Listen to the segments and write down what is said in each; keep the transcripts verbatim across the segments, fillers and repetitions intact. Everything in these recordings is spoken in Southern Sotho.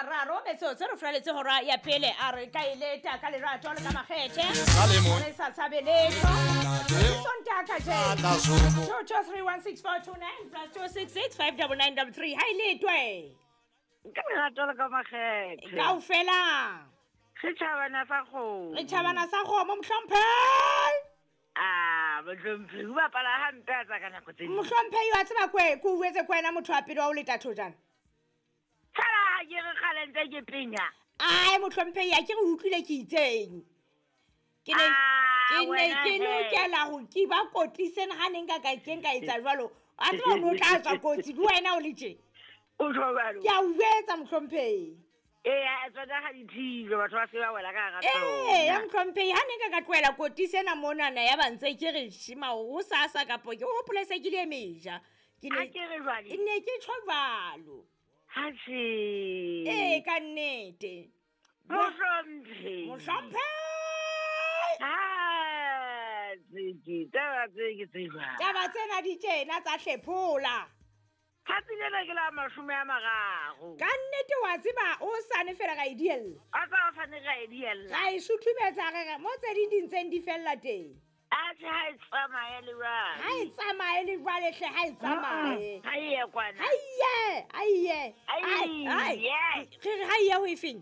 mararo metsotso re furaletse hora ya pele a re ka e leta ka lerato le ka makgethe re sa tshabe letho Sontaha kajeno two two three one six four two nine plus two six six five double nine double three ha e letwe ka lerato le ka makgethe kaofela setšhabana sa kgomo setšhabana sa kgomo mohlomphehi a mohlomphehi o bapala hampe a tsa ka nako tse ding mohlomphehi wa tseba kwe ke o jwetse ke wena motho wa pele wa ho leta thojana tshala ha ke re kgale ntse ke penya ai mohlomphehi a ke re utlwile ke itseng ke ne Ah, ke ne wena ke he. lokela ho ke ba kotliseng ha ne nka ka ke nka etsa jwalo a tseba o ne o tla tswa kotsi le wena o le tje o tjho jwalo ke a o jwetsa mohlomphehi ee tsona ga di thilwe batho ba se ba wela ka hara ee ya tsona mohlomphehi ha ne nka ka tlohela kotisi ena monana ya ba ntse ke re shima ho sasa kapo ke hopole se ke le meja ke ha ne ke re jwale ne ke tjho jwalo ha se ee ka nnete mohlomphehi mohlomphehi ha tseke taba tse ke tse jwang taba tsena di tjena tsa hlephola tsatsi lena ke la mashome a mararo ka nnete wa tseba o sane fela ra e diella a tsa o sane ra e diella ra e suthumetsa re re mo tse ding di ntseng di fella teng atjhe ha e tsamaye le jwale ha e tsamaye le jwale hle ha e tsamaye ha e ye kwana ha iye ha iye Ai, Ai, ye. re re ha iye ho efeng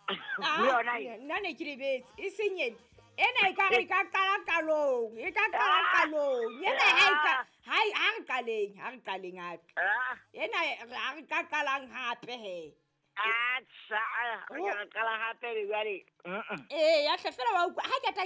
le yona e. nna ne ke lebetse e seng ena ena e ka re e ka qala qalong e ka qala Ah. qalong ena ha e ka ha e- ha re qaleng ha re qaleng hape Ah, ena ha re ka qalang hape he atjha, re ka re qala hape le jwale. Mm-mm. ee ya hle fela wa utlwa ha ke ta